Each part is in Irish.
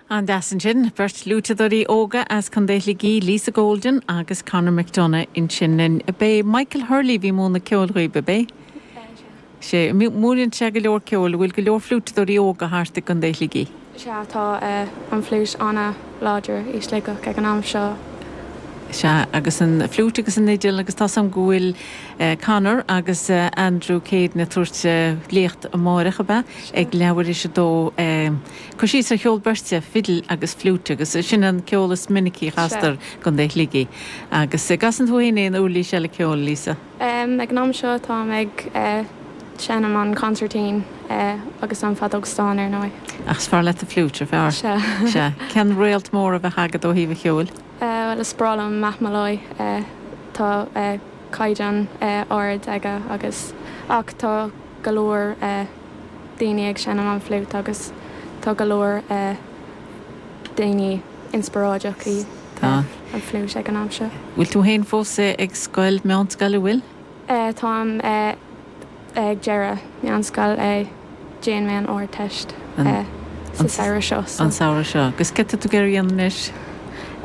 An-deas ansin, beirt fhliúiteadóirí óga as Contae Shligigh, Lisa Golden agus Conor McDonagh ansin linn. B'é Michael Hurley a bhí ag múineadh ceoil dhaoib, ab é? Sea. Múineann sé go leor ceoil. An bhfuil go leor fliúiteadóirí óga thart i gContae Shligigh? Sea, tá an fhliúit an-láidir i Sligeach ag an am seo. Sea, agus an fhliúit agus an fhidil agus tá 's a'm go bhfuil Conor agus Andrew Caden ag tabhairt léacht amáireach, ab ea? Ag leathuair théis a dó. Cur síos ar cheol beirte, fidil agus fliúit agus sin an ceol is minicí a chastar i gContae Shligigh. Agus an gcasann tú féin aon uirlís eile ceoil, Lisa? Ag an am seo táim ag seinm an consairtín agus an feadóg stáin ar ndóigh. Ach is fearr leat an fliúit, ar fearr? Sea. Sea. Cén réalt mór a bheadh agat ó thaobh an cheoil? Bhuel is breá liom Matt Molloy. Tá caighdeán ard aige agus ach tá go leor daoine ag seinm an fliúit agus tá go leor daoine inspioráideach i an fliúit ag an am seo. Bhfuil tú féin fós ag scoil, meánscoil, an bhfuil? Táim ag deireadh meánscoil, déanfaidh mé an Ardteist sa samhradh seo. An samhradh seo. Agus céard tá tú ag iarraidh a dhéanamh anois?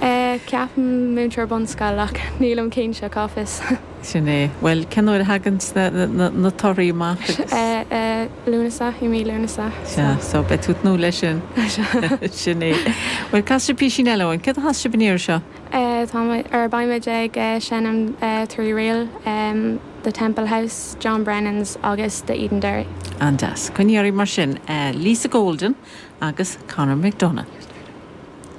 Ceapaim múinteoir bunscoile ach nílim cinnte, cá bhfios. Sin é. Bhuel, cén uair a thagann na torthaí amach agus. Lúnasa, i mí Lúnasa. Sea, so beidh tú ag tnúth leis sin. Sin é. Bhuel, casfaidh sibh písín eile dhúinn. Céard a chas sibh an iarraidh seo? Tá, or beimid ag seinm trí ríl, The Temple House, John Brennan's agus The Edenderry. An-deas. Coinnigh oraibh mar sin. Lisa Golden agus Conor McDonagh.